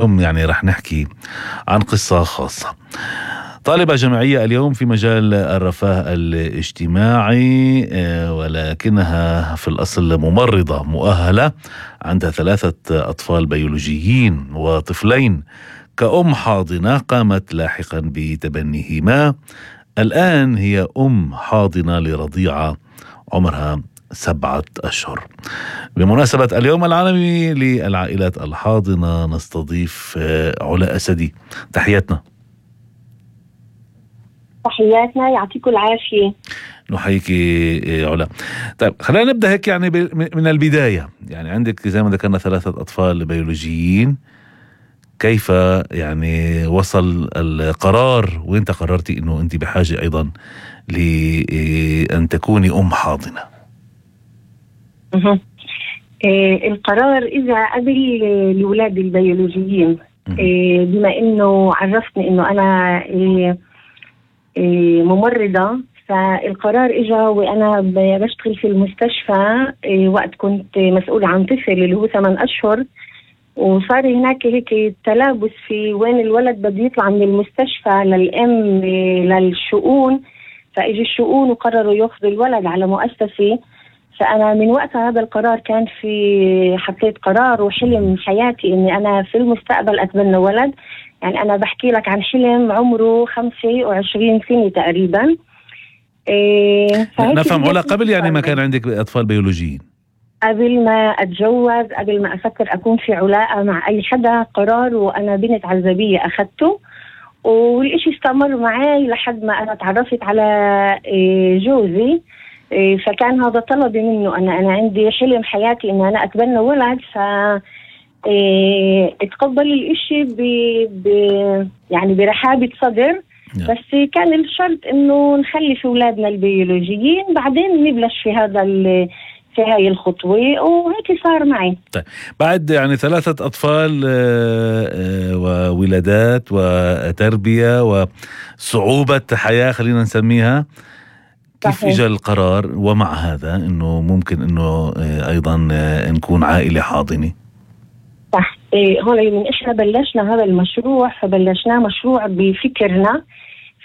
يعني رح نحكي عن قصة خاصة. طالبة جامعية اليوم في مجال الرفاه الاجتماعي، ولكنها في الأصل ممرضة مؤهلة، عندها 3 أطفال بيولوجيين وطفلين. كأم حاضنة قامت لاحقا بتبنيهما. الآن هي أم حاضنة لرضيعة عمرها 7 أشهر. بمناسبة اليوم العالمي للعائلات الحاضنة نستضيف علا أسدي. تحياتنا. تحياتنا، يعطيكم العافية. نحييك علا. طيب خلينا نبدأ هيك يعني من البداية. يعني عندك زي ما ذكرنا 3 أطفال بيولوجيين، كيف يعني وصل القرار وانت قررتي انه انت بحاجة ايضا لأن تكوني أم حاضنة؟ القرار إذا قبل الأولاد البيولوجيين، بما إنه عرفتني إنه أنا ممرضة، فالقرار إجا وأنا بشتغل في المستشفى وقت كنت مسؤولة عن طفل اللي هو 8 أشهر، وصار هناك هيك تلابس في وين الولد بده يطلع من المستشفى للأم للشؤون، فإجي الشؤون وقرروا يأخذوا الولد على مؤسسة. فأنا من وقت هذا القرار كان في حطيت قرار وحلم حياتي إني أنا في المستقبل أتبنى ولد. يعني أنا بحكي لك عن حلم عمره 25 سنة تقريبا. نفهم علا، قبل يعني ما كان عندك أطفال بيولوجيين؟ قبل ما أتجوز، قبل ما أفكر أكون في علاقة مع أي حدا، قرار وأنا بنت عزبية أخذته، والإشي استمر معي لحد ما أنا تعرفت على جوزي. فكان هذا طلبي منه، أنا عندي حلم حياتي إن أنا أتبنى ولد. اتقبل الإشي يعني برحابة صدر، بس كان الشرط إنه نخلي في أولادنا البيولوجيين بعدين نبلش في هاي الخطوة، وهيك صار معي. طيب بعد يعني 3 أطفال وولادات وتربية وصعوبة حياة خلينا نسميها، كيف إجا القرار ومع هذا إنه ممكن إنه أيضا نكون عائلة حاضنة؟ صح. هون من إحنا بلشنا هذا المشروع، فبلشنا مشروع بفكرنا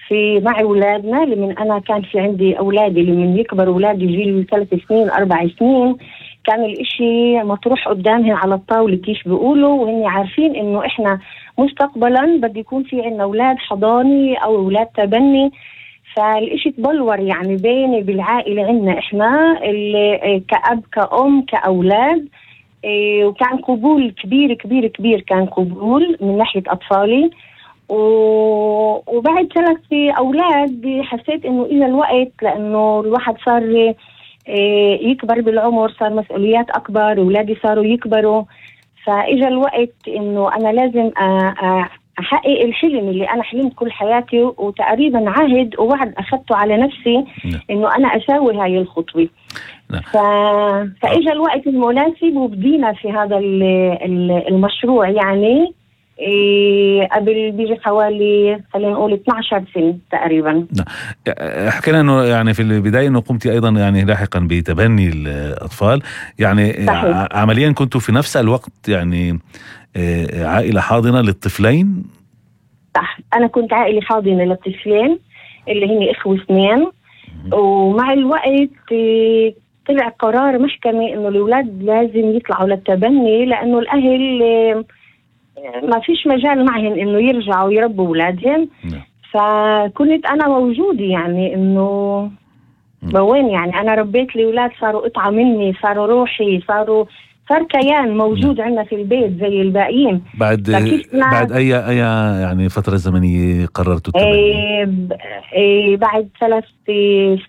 في مع أولادنا. لمن أنا كان في عندي أولادي لمن يكبر أولادي جيل 3 سنين 4 سنين، كان الإشي مطروح قدامهم على الطاولة كيف بيقولوا، وهن عارفين إنه إحنا مستقبلا بدي يكون في عنا أولاد حضاني أو أولاد تبني. فالإشي تبلور يعني بيني بالعائلة عنا إحنا كأب كأم كأولاد. وكان قبول كبير كبير كبير، كان قبول من ناحية أطفالي. وبعد 3 أولاد حسيت إنه إلى الوقت، لأنه الواحد صار يكبر بالعمر، صار مسؤوليات أكبر، أولادي صاروا يكبروا، فإجا الوقت إنه أنا لازم أحقق الحلم اللي أنا حلمت كل حياتي، وتقريبا عهد ووعد أخذته على نفسي إنه أنا أساوي هاي الخطوة. فإجا الوقت المناسب وبدينا في هذا المشروع. يعني قبل بيجي حوالي خلينا نقول 12 سنة تقريبا. حكينا انه يعني في البداية انه قمتي ايضا يعني لاحقا بتبني الاطفال، يعني صحيح. عمليا كنتوا في نفس الوقت يعني عائلة حاضنة للطفلين؟ صح، انا كنت عائلة حاضنة للطفلين اللي هن اخوة 2. ومع الوقت طلع قرار محكمة انه الاولاد لازم يطلعوا للتبني، لانه الاهل ما فيش مجال معهم انه يرجعوا يربوا اولادهم. فكنت انا موجودة، يعني انه وين يعني انا ربيت الاولاد، صاروا قطعة مني، صاروا روحي، صار كيان موجود عندنا في البيت زي الباقيين. بعد اي يعني فترة زمنية قررتوا التبني؟ بعد 3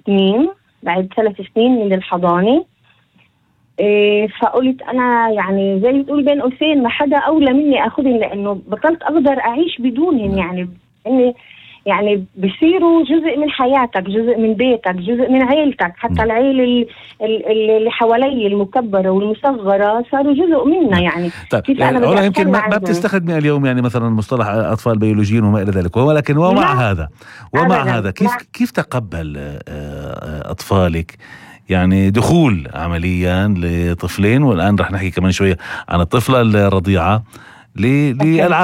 سنين، بعد 3 سنين من الحضانة. فقلت أنا يعني زي تقول بين قوسين ما حدا أولى مني أخذهم، لأنه بطلت أقدر أعيش بدونهم. يعني إني يعني بصيروا جزء من حياتك، جزء من بيتك، جزء من عيلتك. حتى العيلة اللي حوالي المكبرة والمصغرة صاروا جزء منا. يعني طيب كيف أنا يمكن ما بتستخدمي اليوم يعني مثلا مصطلح أطفال بيولوجيين وما إلى ذلك، ولكن ومع هذا كيف تقبل أطفالك يعني دخول عمليا لطفلين، والآن رح نحكي كمان شوية عن الطفلة الرضيعة، للعالم.